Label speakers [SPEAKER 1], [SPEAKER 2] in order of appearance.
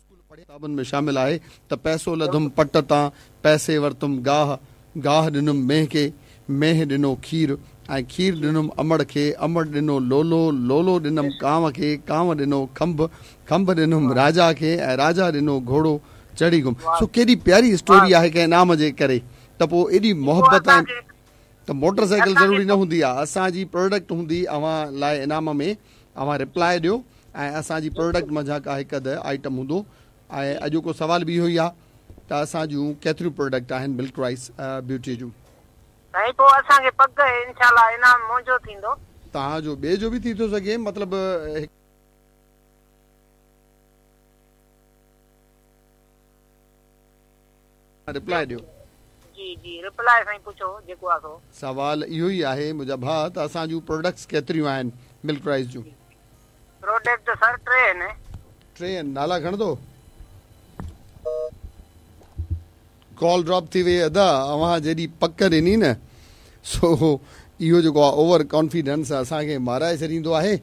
[SPEAKER 1] School پڙهيا. ڪتابن ۾ شامل آهي ته پئسو لڌم پٽ تان، پئسي ورتم گاهه، گاهه ڏنم مينهن کي، مينهن ڏنو کير ۽ کير ڏنم امڙ کي، امڙ ڏنو لولو، لولو ڏنم ڪانء کي، ڪانء ڏنو کنڀ، کنڀ ڏنم راجا کي ۽ راجا ڏنو گهوڙو چڙهي گم. سو ڪيڏي پياري اسٽوري آهي ڪنهن انعام جي ڪري ته پوء ايڏي محبت ۽ ته موٽر سائيڪل ضروري نه هوندي آهي اسان جي پراڊڪٽ هوندي اوهان لاء انعام ۾ اوهان رپلائي ڏيو ۽ اسان جي پراڊڪٽ منجهان ڪا هڪ اڌ آئٽم هوندو ۽ اڄوڪو سوال به اهو ئي آهي ته اسان جون ڪيتريون پراڊڪٽ آهن ملڪ رائس بيوٽي جون.
[SPEAKER 2] سائين پوء اسان کي پڪ آهي انشاء الله انعام منهنجو ٿيندو.
[SPEAKER 1] توهان جو ٻئي جو به ٿي ٿو سگهي مطلب هڪ. رپلائي ڏيو.
[SPEAKER 2] جي جي رپلائي سائين پڇو جيڪو آ سو.
[SPEAKER 1] سوال اهو ئي آهي منهنجا ڀاء ته اسان جون پروڊڪٽس ڪيتريون آهن ملڪ رائس جون.
[SPEAKER 2] پروڊڪٽ سر ٽي آهن.
[SPEAKER 1] ٽي آهن نالا کڻندو. ڪال ڊراپ ٿي وئي ادا اوهان جيڏي پڪ ڏني نه سو اهو جيڪو آ اوور ڪانفيڊنس اسان کي مارائي ڇڏيندو آهي.